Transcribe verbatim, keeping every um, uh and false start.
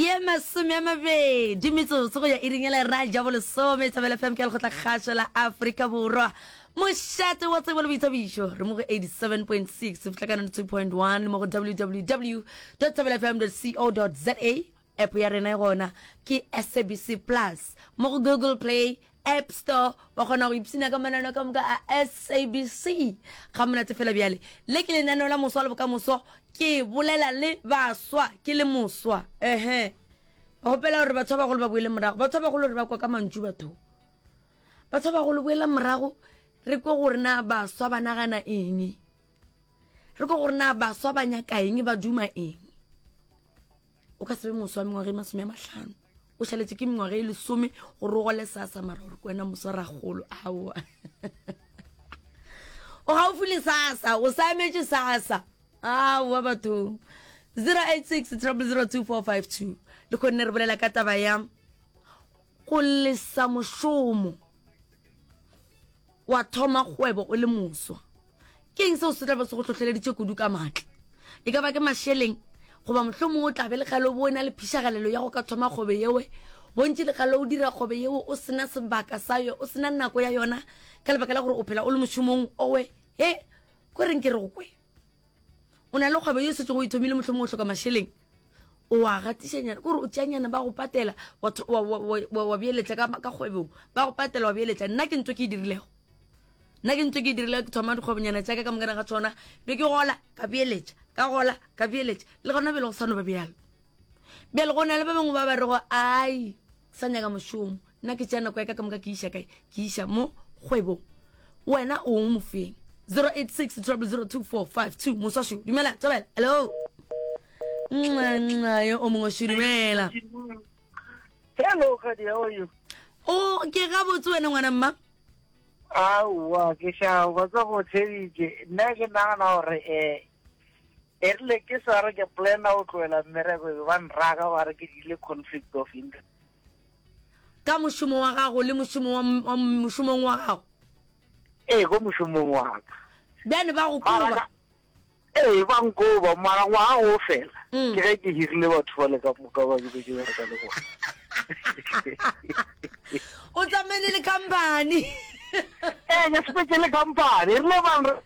Ye masome a mabedi metsotso go ya iring ya lera ja bolesome. Thobela F M ke lekgotla kgašo la Afrika Borwa, mošate wa tsebo le boithabišo. Re mo go eighty-seven point six fihla ka ninety-two point one le mo go w w w dot thobela f m dot co dot za. App ya rena e gona ke S A B C Plus mo go Google Play, App Store. Wa kgona go ipshina ka mananeo ka moka a S A B C ga monate fela. Bjale le ke lenaneo la Moswa le Bokamoso. Ke bolela le baswa, ke le moswa. Ehe, ba gopela gore batho ba bagolo ba boele morago. Batho ba bagolo re ba kwa ka mantšu. Batho batho ba bagolo, boela morago, re kwe gore na baswa ba nagana eng, re kwe gore na baswa ba nyaka eng, ba duma eng. O ka se be moswa mengwaga e masome a mahlano, o šaletse ke mengwaga e lesome gore o gole sasa, mara gore ke wena moswa ragolo. Aowa, o gaufi le sasa, o sa emetse sasa. Aowa bathong. zero eight six zero zero two four five two. Le kgonne re bolela ka taba ya go lesa mošomo wa thoma kgwebo o le moswa. Ke eng seo se tla be se go hlohleleditše kudu ka maatla? E ka ba ke mašeleng, goba mohlomongwe o tla be le kgale o bo o na le phišagalelo ya go ka thoma kgwebo yewe? Bontši le kgale o dira kgwebo yeo, o sena sebaka sa yo, o sena nako ya yona, ka lebaka la gore o phela o le mošomong owe. He ko reng ke re go kwe, o na le kgwebo ye o setse go e thomile, mohlomongwe o hloka mašeleng, o a gatišanyana, kore o tšeanyana, ba go patela, wa tho- wa- wa- wa- wa- wa beeletša ka ka kgwebong, ba go patela, wa beeletša. Nna ke ntho ke e dirilego, nna ke ntho ke e dirilego. Ke thoma dikgwebonyana tša ka ka mokana ga tsona, be ke gola ka beeletša, ka gola ka beeletša, le gona bjale go sa no ba bjalo. Bjale go na le ba bangwe ba ba rego, ai, sa nyaka mošomo nna, ke tšea nako ya ka ka moka ke iša kae? Ke iša mo kgwebong. Wena o mofeng? zero eight six zero zero two four five two. Moswašo, dumela, tswabela. Hello, nxa yo o mongwe šo, dumela. Hello, Kadi, how are you? O ke gabotse, wena ngwana mma? Aowa, ke šao, ba tsa go theeditše. Nna ke nagana gore um e rile ke sa re ke plana go tlohela mmereko, be ba nraka ba re ke diile conflict of interest. Ka mošomo wa gago le mošomo wa wa mošomong wa gago? Ee, ko mošomong wa ka. Bjane ba go Mara koba? ka- ee, ba nkoba, mara ngwaga go fela Mm. ke ge ke hirile batho ba le ka moka ba ke be ke bereka le bona. O tsamaile le company? Ee, ke sepetse le company, e rile bang.